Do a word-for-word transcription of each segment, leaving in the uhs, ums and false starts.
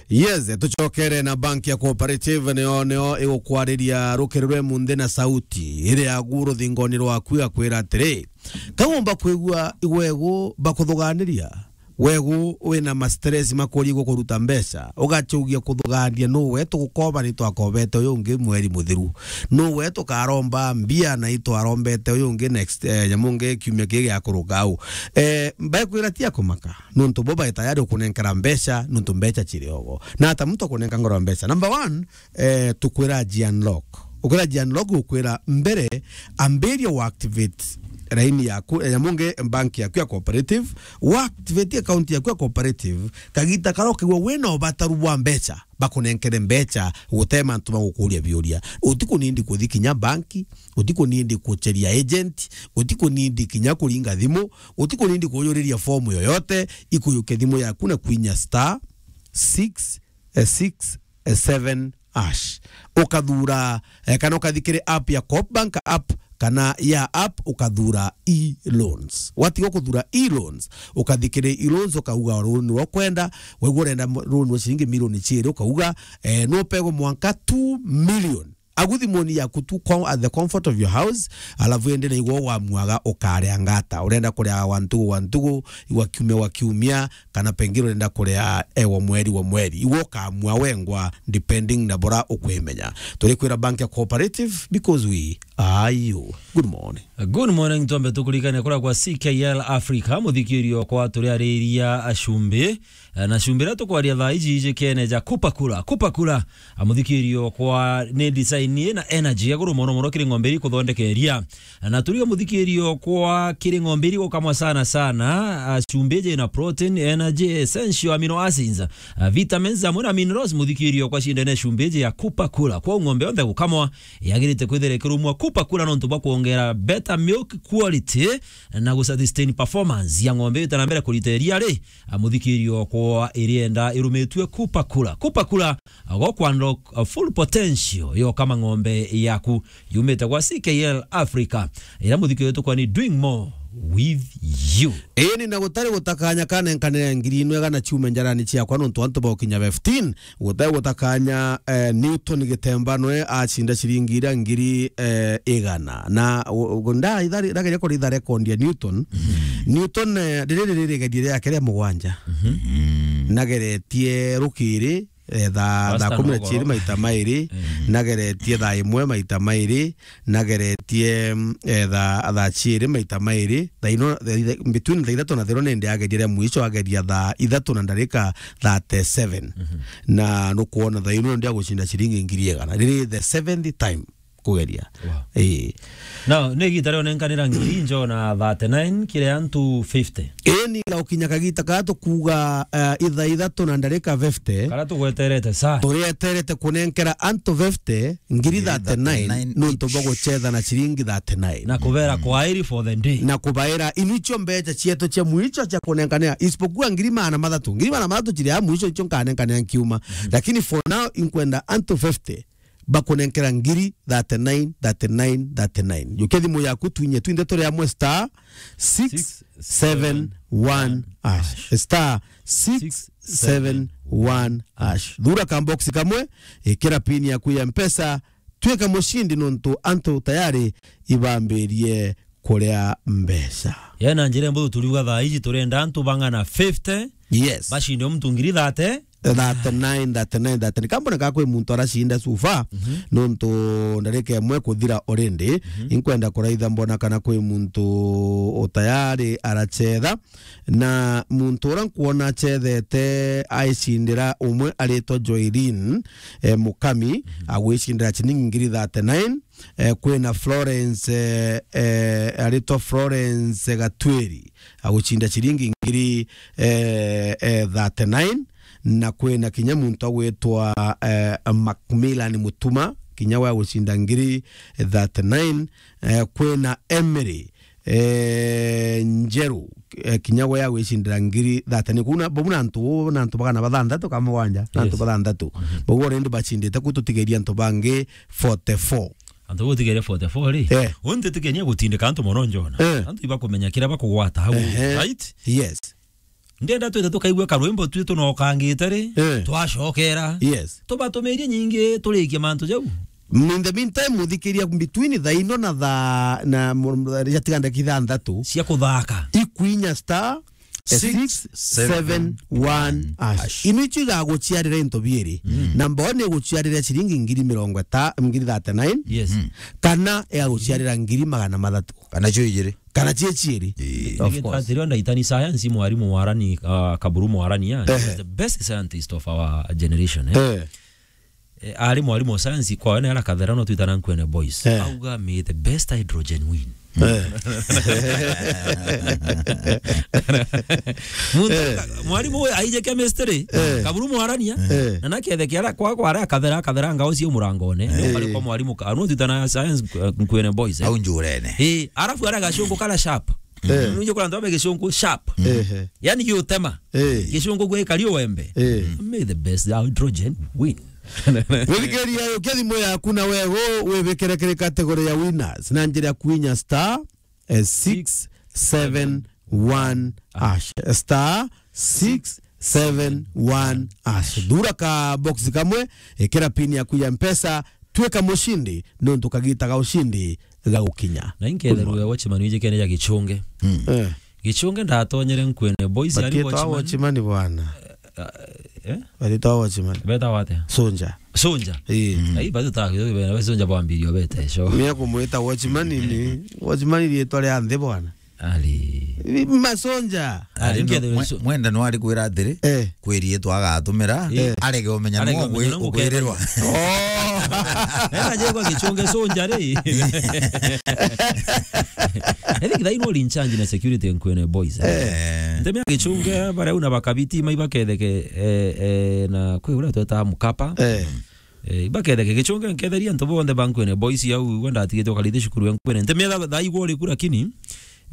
Yes, tucokere na bank ya Cooperative, nio, nio igukwariria rukiri rwe munthi na sauti iri ya gu ruthingoni rwaku, igakwira atiri, kaumba kwigua igwegu bakuthuganiria, wegu wina ma stress makuri gukuruta mbeca, ugacugia kuthugania, nu we tugukoba ni twakobete uyu ungi mweri muthiru, nu we tukaromba mbia na itwarombete uyu ungi next, eh, nyamu ngi kiumia kii giakuruka au. Eh, mbekwira ti akumaka. Nuntu bo bai tayari ukunenkera mbeca, nuntu mbeca ciri ogo. Na ata muntu akunenka ngoro ya mbeca? Number one, eh, tukwira ji unlock. Ukwira ji unlock, ukwira mbere, ambiria u activate raini yaku, eh, nyamu ngi bank yaku ya Cooperative, u activate account yaku ya Cooperative, kagita karia ukigua wina ubataru bwa mbeca, bakunenkere mbeca, gute mantu ma gukuria biuria. Utikunindi kuthi kinya banki, utikunindi kucheria agent, utikunindi kinya kuringa thimu, utikunindi kuyuriria fomu yoyote, ikuyuke thimu yaku na kwinya star six six seven hash. Ukathura, eh, kana ukathi kiri app ya Coop Bank app, kana ya app ukathura e-loans. Watiga kuthura e-loans, ukathi kiri e-loans, ukauga loan rwa kwenda, waigua urenda mo-, loan rwa ciringi milioni ciiri, ukauga, eh, nupegwe mwanka two million. Agu thimuni yaku tu com-, at the comfort of your house, alafu indi na igwa wamuaga ukaria ngata. Urenda kuria wa ntugu wa ntugu, wa kiumia wa kiumia, kana pengine urenda kuria, eh, wa mweri wa mweri. Igwa ukamua wengwa, depending na bora ukwimenya. Turikwira bank ya Cooperative because we are you. Good morning. Good morning, twambe tukuririkane kuria kwa C K L Africa, muthikirio kwa turiariria acumbi. Eh, na cumbi iria tukwaria thaa iji iji kene ja Kupakula. Kupakula, a, muthikirio kwa ni design ina energy ya guru mono mono kiri ng'ombe iri kuthondekeria. Na turiga muthikirio kwa kiri ng'ombe iri gukamwa sana sana, a, cumbi iji ina protein, energy, essential amino acids, a, vitamins amwe na minerals, muthikirio kwa cindene cumbi iji ya Kupakula. Kwa ng'ombe yonthe gukamwa, yagirite kwithira ikirumwa Kupakula nontu bwa kuongera better milk quality na gusustain performance ya ng'ombe ite na mbere kurita iria ri, a, muthikirio kwa irienda irumitue Kupakula. Kupakula, a, go ku unlock, a, full potential yo kama ng'ombe yaku. Yumite gwa C K L Africa, ira muthikirio tukwa ni doing more with you. Ii, ni na gutari gutakanya kanenkanire ngiri inwega na ciume njarani ciakwa nontu antu baukinya fifteen. Gute gutakanya, eh, Newton Gitemba nwe acinda ciringi iria ngiri, eh, igana. Na, u-, u-, nda ithari-, ndageria kuritha record ya Newton. Mhm. Newton, eh, riri riri rigerio riake ria mugwanja. Mhm. Nageretie rukiri, eh, thaa, thaa kumi na ciiri maita mairi, mhm, nageretie thaa imwe maita mairi, nageretie, mm, eh, thaa, thaa ciiri maita mairi, thaa ino, thaa itha-, between thaa ithatu na thaa ino nindi ageria ria mwisho, ageria thaa ithatu na ndarika thirty-seven. Mhm. Na nukwona thaa ino nindi agucinda ciringi ngiri igana. Riri the seventh time kugeria. Wow. Ii. Now, ni igita rio nenkanira ngiri njo na thirty-nine kiri antu fifty. Ii, ni gaukinya kagita kaa tukuga, eh, ithaa ithatu na ndarika fifty. Kara tugweterete saa. Turieterete kunenkera antu fifty, ngiri thirty-nine, nontu bwa guchetha na ciringi thirty-nine. Na kubera kwairi for the day. Na kubaira, inu icio mbeca cietu cia mwicho cia kunenkanira, isipokuwa ngiri magana mathatu. Ngiri magana mathatu ciria mwicho icio nkanenkanira nkiuma. Mhm. Lakini for now, inkwenda antu fifty bakunenkera ngiri thirty-nine, thirty-nine, thirty-nine. Jukia thimu yaku, twinye twinthe turi amwe, star six seven one hash. Star six seven one hash. Thura ka box kamwe, ikira pin yaku ya Mpesa, twika mucindi nontu antu tayari ibambirie kuria mbeca. Yena njira mbuthu turiuga thaa iji turenda antu bang'ana fifty. Yes. Bacinde muntu ngiri thirty. Thirty-nine, thirty-nine, thirty-nine. Kambona ka kwi muntu aracinda so far, mhm, nontu ndarika imwe kuthira already. Mhm. Inkwenda kuraitha mbona kana kwi muntu utayari arachetha. Na muntu uria nkwona achethete aicindira umwe aritwa Joylin, eh, Mukami, mhm, agwicindira ciringi ngiri thirty-nine. Eh, kwina Florence, eh, eh, aritwa Florence Gatwiri, agucinda ciringi ngiri, eh, eh, thirty-nine, na kwina kinya muntu agwitwa, eh, Macmillan Mutuma, kinya we agucinda ngiri thirty-nine, eh, kwina Emily, eh, Njeru, eh, kinya we agwicindira ngiri thirty-nine. Kuna, bau na antu, na antu bagana bathanthatu ka mugwanja, na antu, yes, bathanthatu. Mhm. Bau already bacindite ku, tutigeria antu bangi forty-four. Antu gutigeria forty-four ri? Eh. Unti tikenia gutindika antu mono njona. Eh. Antu ibakumenya kiria bakugwata hau, ehe, right? Yes. Ndenda twite tukaigua karwimbo twi tunokangite ri, Eh. twacokera. Yes. Tubatumirie nyingi turikie mantu jau. In the meantime, muthikiria between thaa ino na thaa, na mu-, mu-, riria tiga ndagika ithanthatu. Cia kuthaka. Ikwinya star, eh, six seven one hash. Ino icio igaguciarira into biiri. Mm. Number one iguciarira ciringi ngiri mirongo ita-, ngiri thirty-nine. Yes. Mm. Kana igaguciarira ngiri magana mathatu. Kana cio ijiri. Kana cie ciiri. Ii. Of course. Atiri ndaitani science, mwarimu Mwarani, ah, Kaburu Mwarani, yeah. Ehe. He's the best scientist of our generation, eh. Eh. Eh, ari mwarimu wa science kwa wene ara Kathera no twitana Nkwene Boys. Eh. Auga, "May the best hydrogen win." Eh. Muntu Eh. ka-, mwarimu uyu aije chemistry, Eh. Kaburu Mwarania, Eh. na nakethe kiara kwa, kwa ara Kathera, Kathera ngao cia murangone. Eh. Kari kwa mwarimu ka-, no twitana science, eh, Nkwene Boys, eh. Au njurene. Eh, arafu ara gacungu kara sharp. Eh. Nunje kura ntome gicungu sharp. Ehe. Yani giutema. Eh. Gicungu gwe kari uwembe. Eh. May the best hydrogen win. Wirikiria, ukia thimu yaku na wego wibikire kiri category ya winners na njira ya kwinya star, eh, six seven one hash. Star six seven one hash. Thura ka box kamwe, ikira pin yaku ya Mpesa, twika mushindi, nontu kagita ga ushindi gagukinya. Na inketherwe watchman wijikene ja Gichunge. Eh. Gichunge ndatonyere Nkwene Boys ari Batitwa watchman. Watchman bwana. Eh? Batitwa watchman. Beta wate? Sonja. Sonja. Ii. Ai, batu ta, bena Sonja bwambirio bete, so. Mia kumwita watchman ni, watchman ni riitwa ria nthi bwana. Ali. Masonja. Ali, Ari no, nkethirwe mwe-, so- mwenda no ari kwira atiri, Eh. kwiri yetu agatumira, Eh. arege umenya Arege no umenya gwi-, no gukwirirwa. Oh. Ena je kwa Gichunge Sonja ri. I think they know in charge na security Nkwene Boys, eh. Eh. Ntemea Gichunge, baria una bakabiti, mai baketheke, eh, eh, na kwi uria tweta Mkapa. Eh. Eh, ibaketheke Gichunge, nketheria antu bonthe ba Nkwene Boys au, igwe ndatigite ukarithi cukuru ya Nkwene. Ntemea tha, tha igwe uriku, lakini,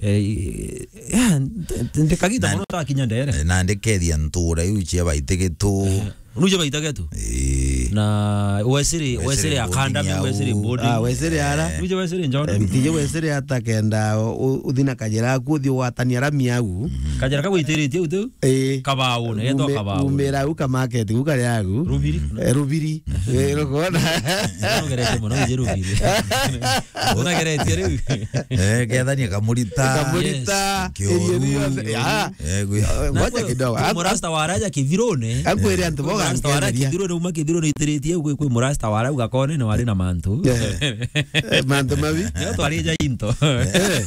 eh, ya, nte-, nte-, ndikagita Na- mono takinya ndere. Eh, na ndikethia ntura iu cia Baitigitu. Eh, nuje Baitigitu? Eh. Na Wesley, Wesley Wesley Academy, Boarding au. Wesley Boarding. Ah, Wesley ara? Eh. Nuje Wesley Njona? Eh, ntije Wesley ata kenda u-, uthi na kajira aku uthi ugwatania rami au. Kajira kagwitiritie u tu? Eh. Kabau, na yetwa Ume-, Kabau. Umira u ka market, u kari agu. Rubiri. Eh, Rubiri. Eh, rukona. Unageretie mono, ije Rubiri. Unageretie riu. Eh, kethania kamurita. Kamurita. Yes. Kioru. Area yonthe. Ya. Eh, gwi- Eh, Na ngoja kwe-, kidogo. kwe Am-, murasta wa raja kithirone. Akwire antu boga Murasta wa raja ngetheria. Kithirone, uma kithirone itiritie, kwe, kwe murasta wa rau gakone ni wari na mantu. Eh. Eh, mantu mabi. Yo twari ja into. Eh.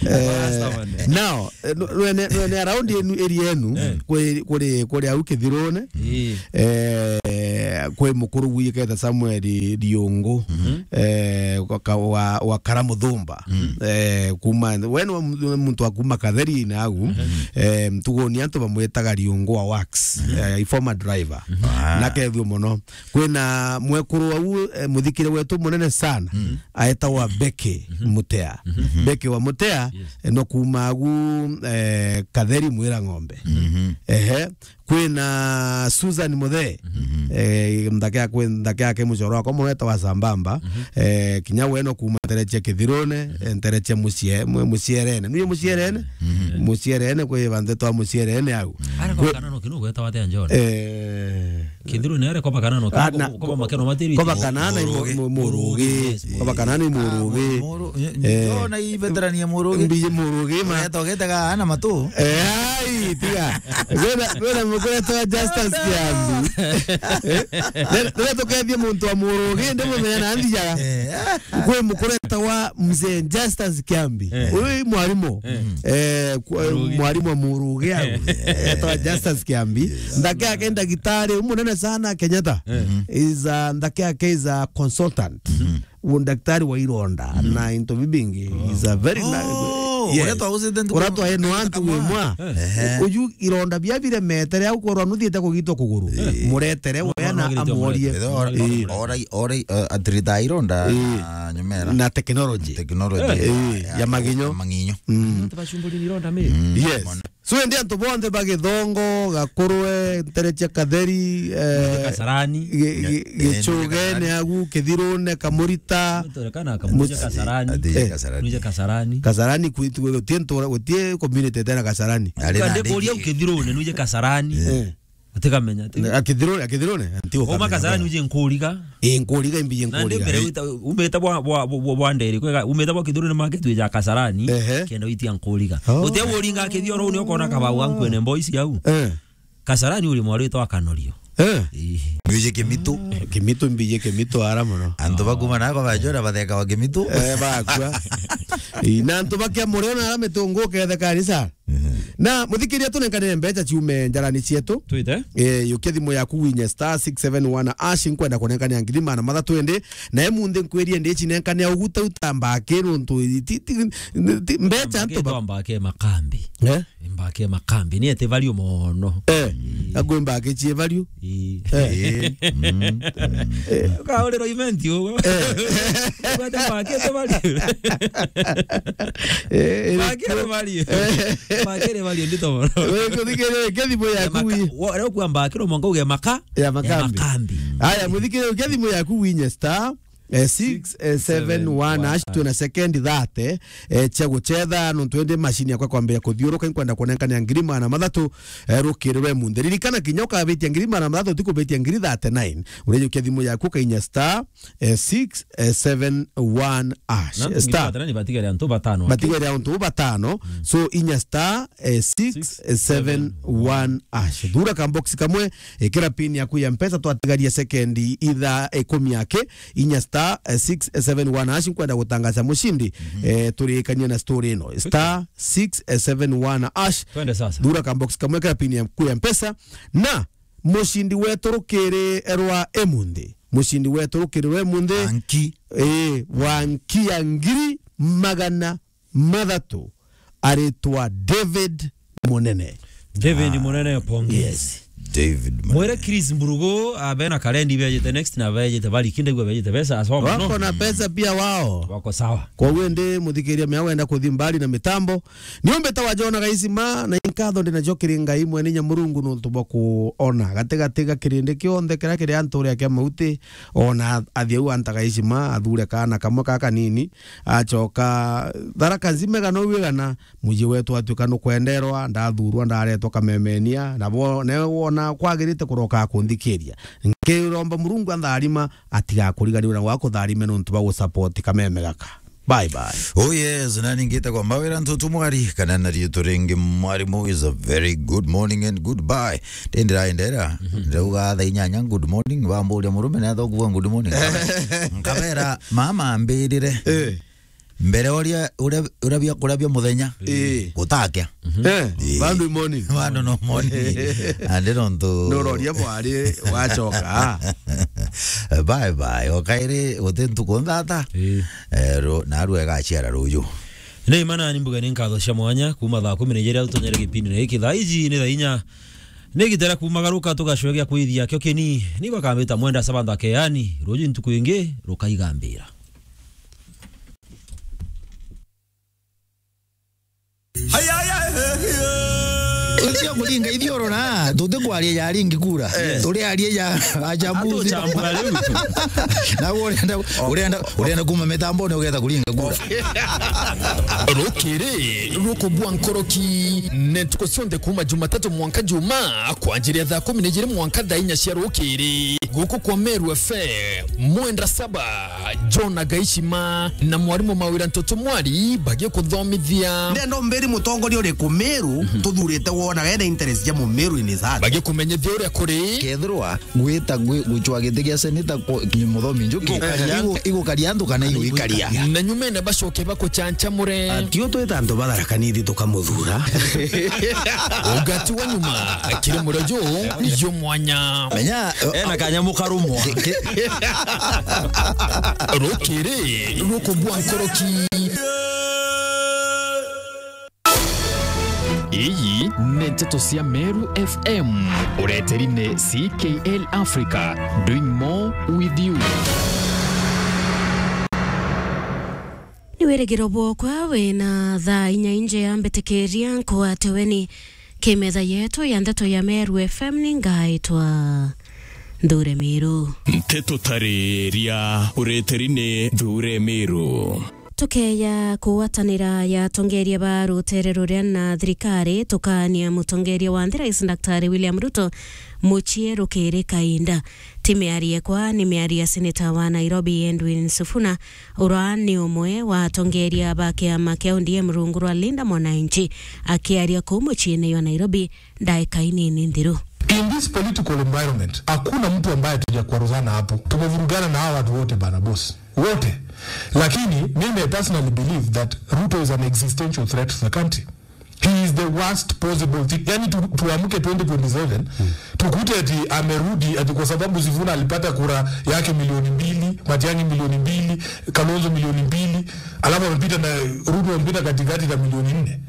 Murasta Eh, mane. Now, Eh, no, nwene, nwene around yenu, area yenu, Eh. kuri, kuri, kuri au Kithirune. Ii. Eh, kwi mukuru gwikete Samuel Riungu, Mhm. eh, wa ka-, wa, wa Karamuthumba. Mm. Eh, kuma, we ni wa mu-, muntu wa kuma Katheri na agu, Mhm. eh, ntuguni antu bamwitaga Riungu wa Wax, Mhm. eh, former driver. Mhm. Ah. Na kethio mono. Kwina mwekuru au, eh, muthikire wetu munene sana, Mm. aetagwa Becky Mhm. Mutea. Mhm. Becky wa Mutea, Yes. eh, no kuma agu, eh, Katheri Mwira Ng'ombe. Mhm. Ehe. Kwina Susan Muthee. Mhm. Eh, nthaka yake, nthaka yake mucoro wakwa mono etagwa Sambamba. Mhm. Eh, kinya we no kuma ntereche Kithirune, Mhm. eh, ntereche mucie-, mu-, mucierene. Nuye mucierene? Mhm. Mucierene, kwi bantu twa mucierene au. Ara Kwi- kwa kana no kinu gweta wate John. Eh, Kithirune are koba kanano, Ah, koba, na, koba makeno matiri. Koba kanana i Murugi. Mu-, mu-, Murugi. Yes, Koba kanana i Murugi. Ah, Muru-, Eh. Yo na i veteran ya Murugi. Mbiye Murugi ma. Oya togete ga ana matu. Eh, ai, tiga. Wena, wena mukure twa Justus Kiambi. Eh? Rira tukethie muntu wa Murugi, ndi mumenya na nthiaga. Eh, ah. Kwi mukuru etagwa Mzee Justus Kiambi. Eh. Uyu i mwarimu. Eh. Eh, ku-, Murugi. Mwarimu wa Murugi au. Eh. Etagwa Justus Kiambi. Yes. Ndake yake ndagitari umunene sana Kenyatta. Eh. Is a, ndake yake is a consultant. Mhm. U ndagitari wa ironda Mhm. na into bibingi. Oh. Is a very nice. Oh, Yes. uria twagucite ntuku Uria twae no antu kamwe. Wimwa. Ehe. Uyu ironda bia biremetere au korwa nuthiite kugitwa kuguru. Eh. Muretere No, wea no, na no, amuorie. Ora, Ii. ora, ora, eh, atirita ironda Ii. na nyumera. Na technology. Technology Eh. ya, Ii, ya, ya maginyo. Ya maginyo. Mm. Antu bacumburi ni ironda mi. Mm. Yes. Mono. So, indi antu bonthe ba Githongo, Gakurwe, ntere cia Katheri, eh, Kasarani. Gi-, gi-, eh, Gichugene, Kasarani. Agu, Kithirune, Kamurita. Turekana Kamurita, Mus-, Kasarani. Ati, eh. Kasarani. Nuje Kasarani. Kasarani kwitu, gutie ntura, gutie community tena Kasarani. Ari na Kande ndege. Kuria ukithirune, nuje Kasarani. Eh. Atikamenya, ati. Akithirune, akithirune, anti Uma ukamenya Kasarani bwana. Uje Nkuriga. Ii, Nkuriga, imbi Na ndi Nkuriga. Mbere wita, umite bwa, bwa, bwa, bwa, bwa nderi, kwega, umite bwa kithirune market wija Kasarani, ehe. Kenda witia Nkuriga. Oh. Utia uringa kithioro ni ukona kabau ga Nkwene Boys au. Eh. Kasarani uri mwarito wa Kanorio. Eh. Ii. Mbiji Kimitu. Kimitu, mbiji Kimitu ara muno. Antu bakuma nako bajora batheka wa Kimitu. Eh, bakua. Ii, na antu bakia mureo na ara mitungu uketheka ni sa. Mhm. Na muthikiria, tunenkanire mbeca ciume njarani cietu. Twite. Eh, yukia thimu yaku winye star six seven one hash, nkwenda kunenkania ngiri magana mathatu indi. Na emunthi nkwirie ndi cinenkania uguta utamba ki nuntu ti, ti, ti, mbeca Mbake ntu ba- twamba ke makambi. Eh? Mbake makambi. Ni ete value mono. Eh, mm. Agwe mbake cie value. Ii. Eh. Eh, mm, mm. Eh. Ukaurira event ugo. Eh. Kwete mbake te value. Eh, eh, Mbake te value. Eh. Mbake te value, ndito mono. Wewe kuthikire, ke thimu yaku maka-, wi- wo-, leo kwa mbake no mwanka uge maka-, Ya ya makambi. Makambi. Aya, muthikire, ke thimu yaku winye star eh, six seven one hash, twina sekendi thirty, eh, cia gucetha, nontu indi machine yakwa kwambia kuthiuruka, inkwenda kunenkania ngiri magana mathatu, eh, rukiri rwe munthi. Ririkana, kinya ukabitia ngiri magana mathatu, utikubitia ngiri thirty-nine. Urijukia thimu yaku, ukainya star, eh, six seven one hash. Na antu Star. Ngiri thirty-nine batigere antu batano. Batigere antu batano. Mm. So, inya star, eh, six seven one hash. Thura ka box kamwe, ikira pin yaku ya Mpesa, twatigaria sekendi itha ikumi aki, inya star, eh, six seven one hash, nkwenda gutangaza mucindi, mhm, eh, turikanie na story ino. Star six seven one hash. Twende sasa. Thura ka box kamwe, ikira pin yaku ya Mpesa, na mucindi wetu rukiri rwa emunthi. Mucindi wetu rukiri rwa emunthi. Anki. Eh, wa nki ya ngiri magana mathatu aritwa David Munene. David Munene, pongezi. Yes. David Munene. Mwire Chris Mburugu, ah, bena karendi bejete next na bejete bari kinde gwa bejete pesa, asoma no. Wako na pesa pia wao. Wako sawa. Kwa hiyo ndi muthikiria mea wenda kuthi mbali na mitambo. Niombe ta wajona gaisima na inkatho ndinajo kiri Ngai mwene inya Murungu nontu bwa kuona gati gati ga kirindi kionthe kiria kiri antu uria kia mauti, ona athi au antaga gaisima athure kaana kamwe ka kanini. Acoka Tharaka nzima igana u igana, muji wetu atuika nukwenderwa, ndathurwa, ndaretwa kamemenia, na bo-, ne wona kwagirite kuroka kunthikiria. Nkiromba Murungu antharima, atigakuriganirwe na gwakutharime nontu bwa gusupport kameme gaka. Bye bye. Oh yes, na ningite kwa Mawira Ntutu Mwari, kana na riitwa ringi Mwarimu is a very good morning and goodbye. Ndiraendera, mhm, ndauga thaa inyanya, "Good morning," bamburia murume na thoguo, "Good morning." Nkabera, "Mama ambirire." Eh. Mbere uria, uria, uria bia kuria bia muthenya, eh, gutakia. Eh, eh, bado imoni. Bado no moni. Ande nontu. Nuroria mwari wacoka. Bye bye. Okairi, guti ntuku nthata. Eh. Eh, ru-, na rue gaciara ruju. Ni imana ni mbuge ni nkatho cia mwanya, kuma thaa kumi na ijiri tunyere gipindi na giki. Thaa iji ni thaa inya. Ni gitera kumagaruka tugacwe gia kwithia kio kini. Ni bakambita mwenda sabantha keani. Ruju ntuku ingi, rukaigambira. Ucio kuringa ithioro na, tuti kwaria ya ringi kura. Eh. Turi aria ya achambuzi. Atuchambura riu. Na urenda, urenda, urenda kuma mitambone ugetha kuringa kura. Rukiri, rukubua nkoroki, ne ntuku cionthe kuma Jumatatu mwanka Juma, kwanjiria thaa kumi na ijiri mwanka thaa inya cia rukiri. Guku kwa Meru F M, mwenda saba. John Agaishima na mwarimu Mawira Ntutu Mwari bagikuthomithia. Ndenda umbiri mutongoria uriku Meru, mhm, tuthurite wona wena interest ja Mumeru in his heart. Bagikumenyithia uria kuri. Kethirwa gwita gwi-, gucwa giti gia seneta ku-, ki-, Muthomi Njuki, igukaria antu, igu-, igukaria antu kana igwikaria. Na nyumene bacoke bakuchanchamure. Atio twita antu ba Tharaka Nithi tukamuthura. Ugati wa nyuma, kiri murejo, yo mwanya. Menya, ena kanyamu karumwa. Ki-, ki-, rukubua nkoroki. Iyi ni nteto cia Meru F M. Ureteri ni C K L Africa, doing more with you. Ni wirigiro bwokwa wina thaa inya inje ya mbitikiria nkwate weni. Kimetha yetu ya ndeto ya Meru F M ni ngaitwa Nthure Miru. Nteto tariria ureteri ni Nthure Miru. Tukeya kugwatanira ya atongeria ba rutere ruria na thirikari, tukaania mutongeria wa nthi Rais Daktari William Ruto mucii rukiri kainda. Ti miario ekwa, ni miario ya seneta wa Nairobi Edwin Sifuna, ura ni umwe wa atongeria ba kiama kia O D M rungu rwa Linda Mwananchi, akiaria kuu muciine jwa Nairobi ndaika inini nthiru. In this political environment, hakuna mtu ambaye tujakwaruzana hapo. Tumevurugana na hawa watu wote bana boss. Wote. Lakini mimi I personally believe that Ruto is an existential threat to the country. He is the worst possible thing. Yani tu, tuamke twenty twenty-seven, tukute ati amerudi, ati kwa sababu Sifuna alipata kura yake milioni mbili, Matiang'i milioni mbili, Kalonzo milioni mbili, alafu amepita na Ruto amepita katikati na milioni nne.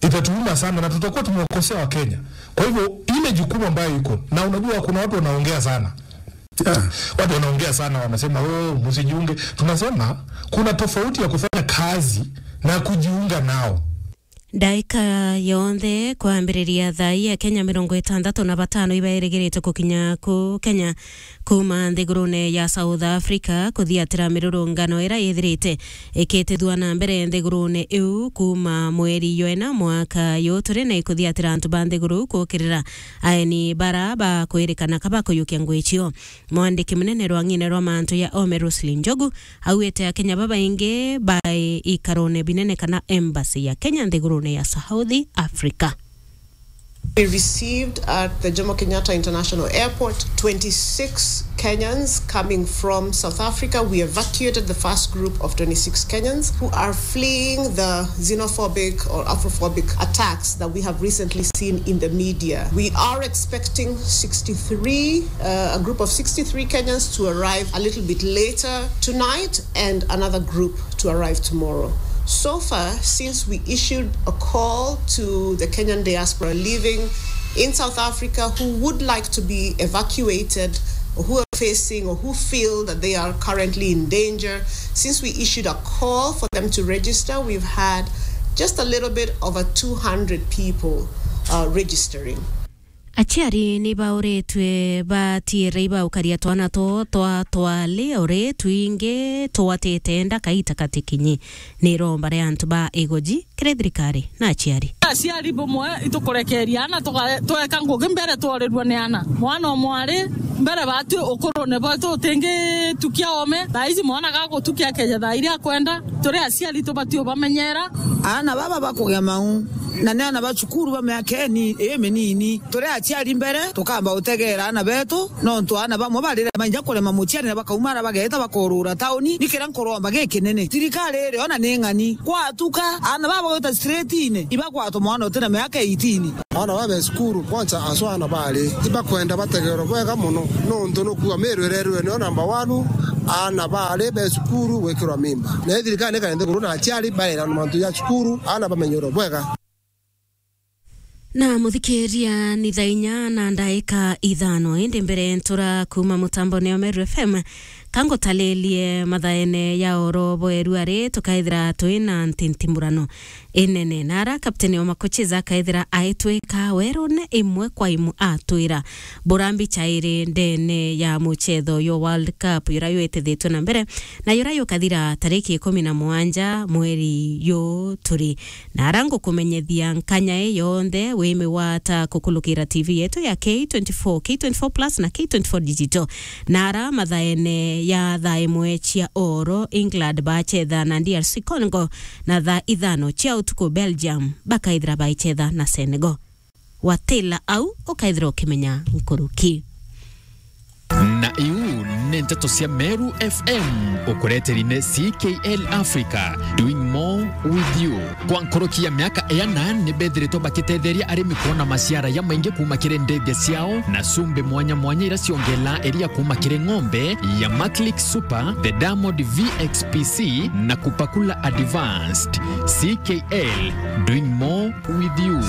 Itatuuma sana na tutakuwa tumewakosea Wakenya. Kwa hivyo, ile jukumu ambayo iko, na unajua kuna watu wanaongea sana. Yeah. Watu wanaongea sana, wanasema, "Oh, msijiunge." Tunasema, kuna tofauti ya kufanya kazi na kujiunga nao. Ndaika yonthe kwambiriria thaa ii, Akenya mirongo itantatu na batano ibairigiritwe gukinya ku Kenya kuuma nthigurune ya South Africa kuthiatira mirurungano ira yithirite ikitithua na mbere nthigurune iu kuuma mweri jwa ina mwaka juu turi na ikuthiatira antu ba nthiguru iu kuukirira aeni bara bakwirikana ka bakuyukia ngugi cio. Mwandiki munene rwang'ine rwa mantu ya Ome Roselyn Njogu augite Akenya babaingi bai ikarone binene kana embassy ya Kenya nthigurune ya South Africa. We received at the Jomo Kenyatta International Airport twenty-six Kenyans coming from South Africa. We evacuated the first group of twenty-six Kenyans who are fleeing the xenophobic or Afrophobic attacks that we have recently seen in the media. We are expecting sixty-three, uh, a group of sixty-three Kenyans to arrive a little bit later tonight and another group to arrive tomorrow. So far, since we issued a call to the Kenyan diaspora living in South Africa who would like to be evacuated or who are facing or who feel that they are currently in danger, since we issued a call for them to register, we've had just a little bit over two hundred people, uh, registering. Aciari ni bauritwe batiire ibaukaria twana two twa twali uri twingi twatite nda kaita katikinyi. Ni iromba ria antu ba igoji kiri thirikari na aciari. Aciari bumwe itukurekeria ana tuga-, tweka ngugi mbere tworirua ni ana. Mwana o mwari mbere batu ukurune bwetu utingitukia ome. Thaa ici mwana gagutukia akeja thaa iria akwenda. Turi aciari tubati ubamenyera. Ana baba bakugia mau. Na ni ana ba cukuru ba miaka ini-, iminini. Turi aciari mbere, tukamba utegeera ana betu, nontu ana bamwe barire mainja kurema muciari na bakaumara bageeta bakorura tauni. Ni kiria nkuromba gikinene. Thirikari iri ona ni ng'ani. Kwatuka, ana baba gwita straight-ini, ibagwatwa mwana utina miaka eighteen. Ana ba be cukuru, kwanza aswa ana bari, ibakwenda bategeerwe bwega mono, nontu nukuga Meru irerwe niyo number one, ana bari be cukuru gwikirwa mimba. Na thirikari ni kari nthiguru na aciari bairana mantu ja cukuru, ana bamenyerwe bwega. Na muthikiria, ni thaa inya na ndaika ithano, indi mbere ntura kuuma mutambone wa Meru F M, ka ngutaririe mathaene ya oro bweru ari, tukaithira twina ntintimurano inene. Na ara kapteni wa Makocheza akaithira aitwika werone imwe kwa imwe atwira. Burambi chairi ndene ya muchetho yo World Cup, yura yetithitwe na mbere, na yura yukathira tariki ikumi na mugwanja mweri yu turi. Na ara ngukumenyethia nkanya ii yonthe, wimigwata kukulukira T V yetu ya K twenty-four, K twenty-four Plus na K twenty-four Digital. Na ara mathaene ya thaa imwe cia oro, England bachetha na D R C Congo, na thaa ithano cia utuku, Belgium bakaithira baichetha na Senegal. Watila au, ukaithira ukimenya nkuruki. Na iu ni nteto cia Meru F M, ukureteri ni C K L Africa, doing more with you. Kwa nkuruki ya miaka iana, ni bethiritwe bakitetheria arimi kwona maciara ya maingi kuuma kiri ndege ciao, na cumbi mwanya mwanya ira ciongela iria kuuma kiri ng'ombe ya Maclick Super, the Diamond V X P C, na Kupakula Advanced. C K L, doing more with you.